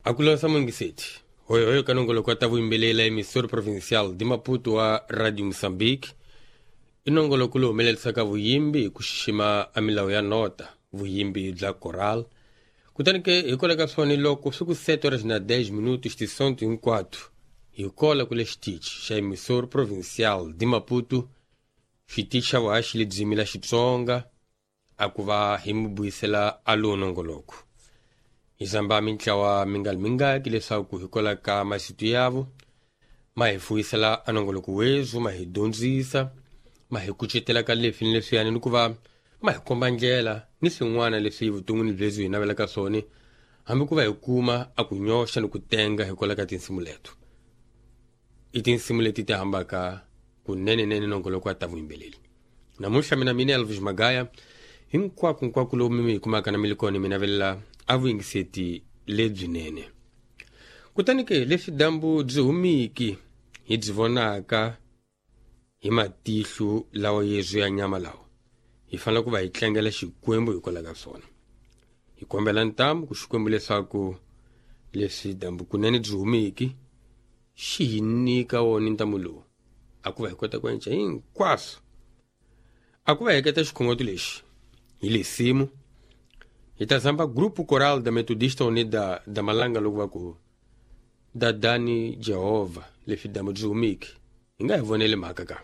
Akulosa mungiseti hoyohoyo ka nongoloko wa ta vuyimbelela emissora provincial de Maputo wa Radio Moçambique. I nongoloko lowu humelelisaka vuyimbi hi ku xixima a milawu ya nota, vuyimbi bya coral. Kutani ke hikwalaho ka swona, loko swi ku 7 horas na 10 minutos tisonto hinkwato, hi kola kule xitichi xa emissora provincial de Maputo, xitichi xa vuhaxi lebyi mila Xitsonga, a ku va hi mi vuyisela a lowu nongoloko. Hi zamba mintlawa mingali mingaki leswaku hikwalaho ka masitu yavo ma hi fuyisela a nongoloko wezu, ma hi dyondzisa, ma hi kucetela ka leswi ni leswiyani, ni ku va ma hi komba ndlela ni swin'wana leswi vuton'wini byebyi hi navelaka swona, hambi ku va hi kuma a ku nyoxa ni ku tenga hikwalaho ka tinsimu leto. I tinsimu leti ti hambaka kunenenene nongoloko wa ta vuyimbeleri. Namuntlha mina Elvis Magaya, hinkwako nkwako lowu mi mi kumaka na mi li kona, mi navelela a vuyingiseti lebyinene. Kutani ke leswi dyambu byi humiki hi byi vonaka hi matihlo lawa yezu ya nyama lawa, hi fanele ku va hi tlangela Xikwembu hikwalaho ka swona. Hi kombela ntamu ku Xikwembu leswaku leswi dyambu kunene byi humiki xi hi nyika wona ntamu lowu, a ku va hi kota ku endla hinkwaswo. A ku va heketa xikhongoto lexi hi lesimu, hi ta zamba Grupo Coral da Metodista Unida da Malanga loko va ku dadani Jehovha. Leswi dyambu byi humiki, hi nga hi voneli mhaka ka.